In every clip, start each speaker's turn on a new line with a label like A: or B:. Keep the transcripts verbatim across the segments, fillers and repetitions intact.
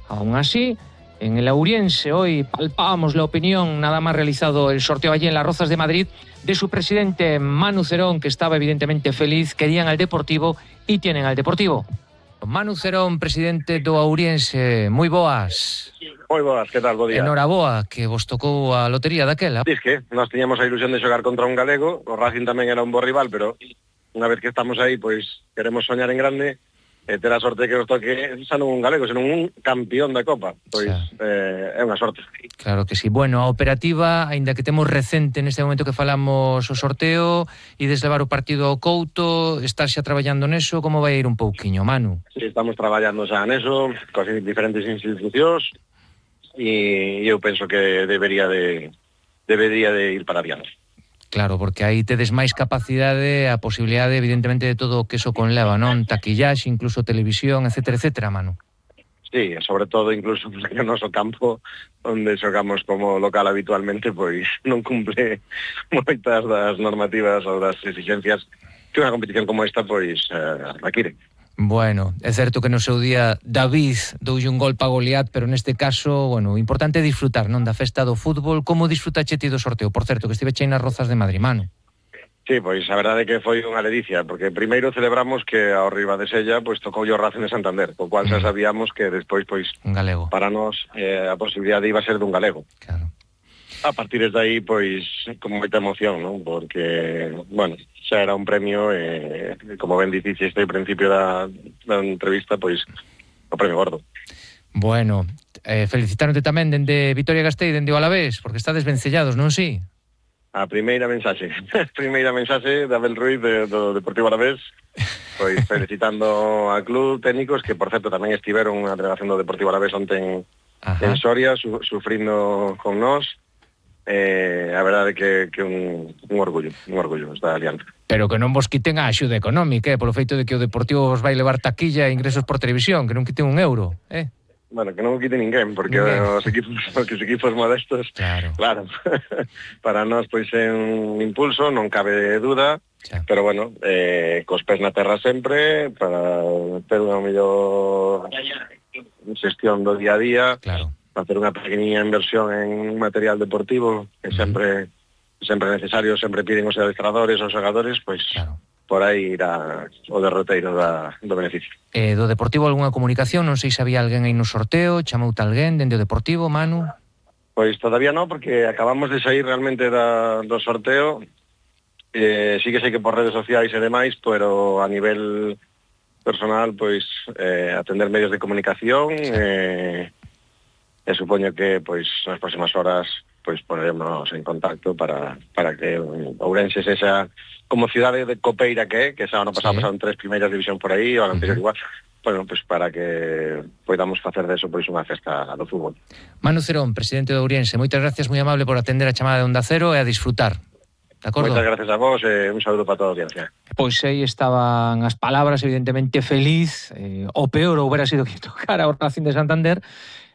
A: Aún así, en el Ouriense hoy palpábamos la opinión, nada más realizado el sorteo allí en Las Rozas de Madrid, de su presidente Manu Cerón, que estaba evidentemente feliz, querían al Deportivo y tienen al Deportivo. Manu Cerón, presidente do Ouriense, moi boas.
B: Moi boas, que tal, bo día.
A: Enhoraboa, que vos tocou a lotería daquela.
B: Diz que nós tiñamos a ilusión de xogar contra un galego, o Racing tamén era un bo rival, pero unha vez que estamos aí, pois queremos soñar en grande e ter a sorte que nos toque xa non un galego, senón un campeón da Copa. Pois eh, é unha sorte.
A: Claro que sí. Bueno, a operativa, aínda que temos recente neste momento que falamos o sorteo e deslevar o partido ao Couto, estás xa traballando neso, como vai ir un pouquiño, Manu?
B: Sí, estamos traballando xa neso, con diferentes institucións, e eu penso que debería de debería de ir para adiante.
A: Claro, porque aí tedes máis capacidade, a posibilidade, evidentemente, de todo o que eso conleva, non? Taquillaxe, incluso televisión, etcétera, etcétera, Manu.
B: Sí, sobre todo, incluso, porque o noso campo, onde xogamos como local habitualmente, pois non cumple moitas das normativas ou das exigencias que unha competición como esta, pois, eh, require.
A: Bueno, é certo que no seu día David doulle un gol pa Goliat, pero neste caso, bueno, o importante é disfrutar, non, da festa do fútbol. Como disfrutache ti do sorteo? Por certo, que estive chei nas Rozas de Madrid, Manu.
B: Sí, pois a verdade é que foi unha ledicia, porque primeiro celebramos que ao riba de Sella pois tocou o Racing de Santander, co cual xa sabíamos que despois pois
A: un galego.
B: Para nós eh, a posibilidade iba a ser dun galego.
A: Claro.
B: A partir de aí, pois, con moita emoción, non? Porque, bueno, xa era un premio, e, eh, como ben diciste ao principio da, da entrevista, pois, o premio gordo.
A: Bueno, eh, felicitaronte tamén dende Vitoria-Gasteiz, dende o Alavés, porque estades vencellados, non si?
B: A primeira mensaxe, a primeira mensaxe de Abel Ruiz de, do Deportivo Alavés, pois felicitando a club, técnicos, que, por certo, tamén estiveron unha delegación do Deportivo Alavés ontem en Soria, su, sufrindo con nós. Eh, a verdade que, que un, un orgullo, un orgullo esta alianza.
A: Pero que non vos quiten a axuda económica, eh, polo feito de que o Deportivo vos vai levar taquilla e ingresos por televisión, que non quiten un euro, eh?
B: Bueno, que non o quite ninguén, porque ninguén. Os equipos, os equipos modestos,
A: claro,
B: claro para nós pois é un impulso, non cabe duda, xa. Pero bueno, eh, cos pés na terra sempre, para ter unha mellor xestión do día a día,
A: claro,
B: facer unha pequeniña inversión en material deportivo, que sempre sempre necesario, sempre piden os adestradores, os xogadores, pois claro, por aí irá o derroteiro da, do beneficio.
A: Eh, do Deportivo algunha comunicación? Non sei se había alguén aí no sorteo, chamoute alguén dende o Deportivo, Manu?
B: Pois todavía non, porque acabamos de sair realmente da, do sorteo. Eh, sí que sei que por redes sociais e demais, pero a nivel personal, pois eh, atender medios de comunicación, sí. eh, e supoño que pois nas próximas horas pois poneremos en contacto para, para que Ourense sexa como cidade de copeira que é, que xa ano pasado sí. Pasaron tres primeiras división por aí, o ano anterior uh-huh. igual, bueno, pois para que podamos facer deso pois unha festa do fútbol.
A: Manu Cerón, presidente de Ouriense, moitas gracias, moi amable por atender a chamada de Onda Cero e a disfrutar. De acordo?
B: Moitas gracias a vos e un saúdo para toda a audiencia.
A: Pois aí estaban as palabras, evidentemente feliz, eh, o peor houbera sido que tocara o Racing de Santander.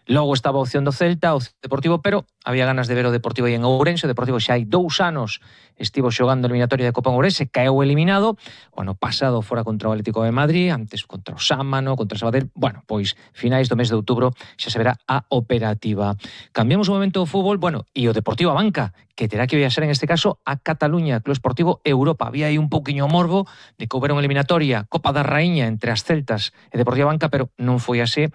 A: Logo estaba a opción do Celta, o Deportivo, pero había ganas de ver o Deportivo aí en Ourense. O Deportivo xa hai dous anos estivo xogando a eliminatoria de Copa en Ourense, caeu eliminado, o ano pasado fora contra o Atlético de Madrid, antes contra o Sámano, contra o Sabadell. Bueno, pois finais do mes de outubro xa se verá a operativa. Cambiamos o momento do fútbol, bueno, e o Deportivo a banca, que terá que viaxar en este caso a Cataluña, Club Esportivo Europa. Había aí un pouquiño morbo de que houbera unha eliminatoria Copa da Raíña entre as Celtas e Deportivo a banca, pero non foi así.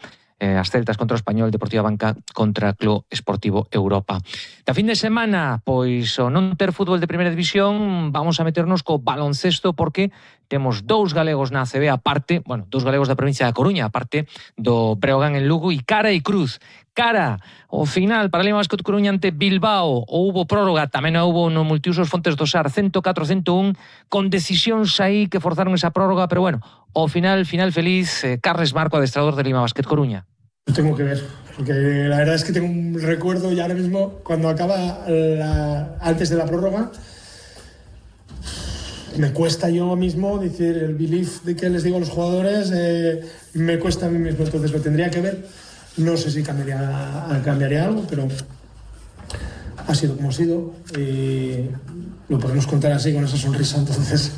A: Eh, as Celtas contra o Español, Deportivo Banca contra Club Esportivo Europa. Da fin de semana, pois o non ter fútbol de primeira división, vamos a meternos co baloncesto, porque temos dous galegos na A C B aparte, bueno, dous galegos da provincia da Coruña, aparte do Breogán en Lugo, e cara e cruz. Cara, o final para Lima Basket Coruña ante Bilbao, houbo prórroga, tamén houbo no multiusos Fontes do Sar, cento catro a cento un, con decisións aí que forzaron esa prórroga, pero bueno, ao final, final feliz, eh, Carles Marco, adestrador de Lima Basket Coruña.
C: Lo tengo que ver, porque la verdad es que tengo un recuerdo y ahora mismo, cuando acaba la, antes de la prórroga, me cuesta yo mismo decir el belief de que les digo a los jugadores, eh, me cuesta a mí mismo, entonces lo tendría que ver. No sé si cambiaría, cambiaría algo, pero ha sido como ha sido y lo podemos contar así con esa sonrisa, entonces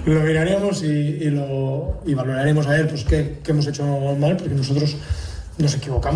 C: lo miraremos y, y, lo, y valoraremos a ver pues, qué, qué hemos hecho mal, porque nosotros nos equivocamos.